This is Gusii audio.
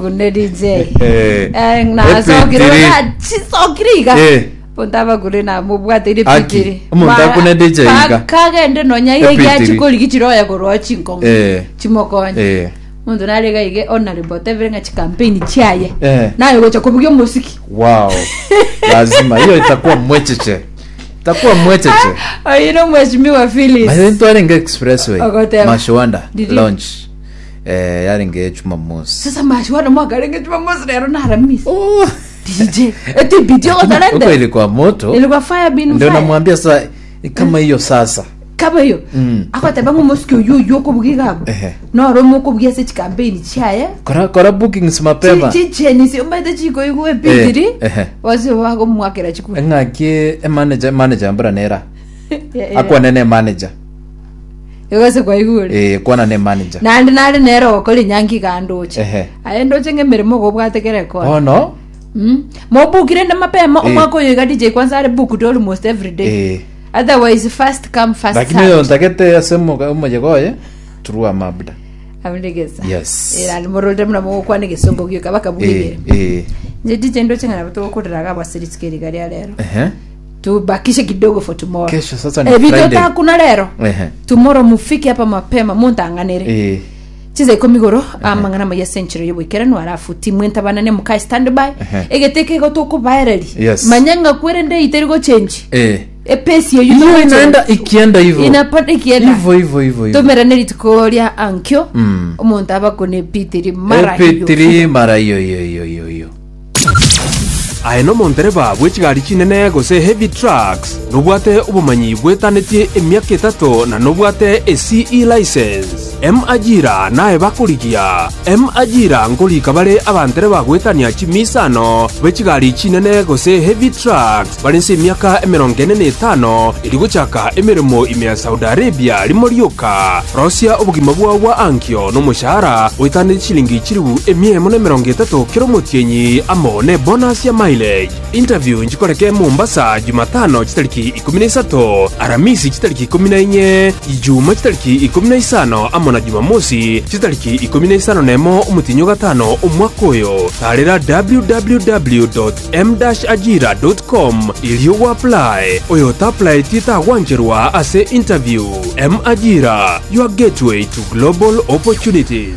Gune DJ. Eh, Eh, nasokire epitiri. bona chisokire iga. Eh. Bonto abagure namobwateire Aki, epitiri. omonto akune DJ iga. Kagende nonya iga Epitiri. giachikorigi chiroya korwa chinkong'u. Eh. Chimokonye. Eh. Omonto nare iga ige honorable otebire ng'a chikampeni chiaye. Eh. Naye gocha kobugia omosiki. Wow. Lazima hiyo itakuwa mwecheche. Itakuwa mwecheche. Oyo no mheshimiwa Phyllis. Maze ntwarenge expressway. Ogoteba. Mashwanda Did you- launch. Eh yarenge Jumamosi. Sasa mashwanda mwakarenge Jumamosi rero na Alhamisi. Oh. DJ. Eti video Huko otarende. ilikuwa moto. Ilikuwa fire bin Ndio fire. namwambia sasa kama hiyo sasa. Kaba hiyo. Mm. Akoteba ng'o omosike oyio oyio okobugia iga abwo. Ehe. Noro omokobugia ase chikampeni chiaye. Kora kora bookings mapema. Chicheni omanyete chikoigwa epitiri. Eh, ehe. Bose bagomwakera chikura. Ng'aki emanager manager mbura nera. Akwane ne manager. Igo kwaigure. Eh kwana ne manager. Naende nare nere ogokora enyangi iga ndoche. Ehe. Aye ndoche ng'a emeremo igo obwate kera ekona. Bono Mm. Mobukire inde mapema Eh. omwaka oyo iga DJ kwanza are booked almost every day. eh Otherwise first come first lakini oyo served. ntagete ase omoga- omoyega oye true amabda. Abundegesa. Yes. Era nimororire muna mogokwana egesongo gioka Eh bakabugire. eh Nje DJ ndoche ng'a nabo togokorera iga abaseri rituko riga ria rero. ehe Tubakishe kidogo for tomorrow. Kesho sasa ni Eh, Friday. bitotakuna rero. Ehe. Tomorrow mufike hapa mapema muntang'anere. Eh Chinsa ikomi igoro amang'ana amaya ase enchera y'oboikeranu alafu timu entabanane mukae standby Ehe. egete kego tokobaereri Yes. manya ng'a kwerende iteri gochenji eh epesi eyu Hiyo togochenji. inaenda ikienda hivyo. Inapanda ikienda Hivyo hivyo hivyo hivyo. tomerane rituko ria ankio Mm. omonto abakone epitiri mara hiyo Epitiri mara hiyo hiyo hiyo hiyo hiyo. Aye nomontereba bwe chigari chinene gose heavy trucks, nobwate obomanyi bwetanetie emiaka etato na nobwate eCE license. M-Ajira naye bakorigia. M-Ajira nkorika bare abantereba goetania chimisano be chigari chinene gose heavy trucks bare nse emiaka emerongo ene na etano erio gochaka emeremo ime ya Saudi Arabia rimo rioka. Rosia obogima bwao bwa ankio nomoshahara oetanetie chilingi chilifu emia emo na emerongo etato kera omotienyi amo ne bonus ya mileage. Interview nchikoreke Mombasa Jumatano chitariki ikomi na isato, Aramisi chitariki ikomi na inye, Ijuma chitariki ikomi na isano amo na Jumamosi chitariki ikomi na isano na emo omotienyi o gatano omwaka oyo. Tarera www.m-ajira.com erio gwa-apply. Oyo ota-applyeti tagwancherwa ase interview. M-Ajira, your gateway to global opportunities.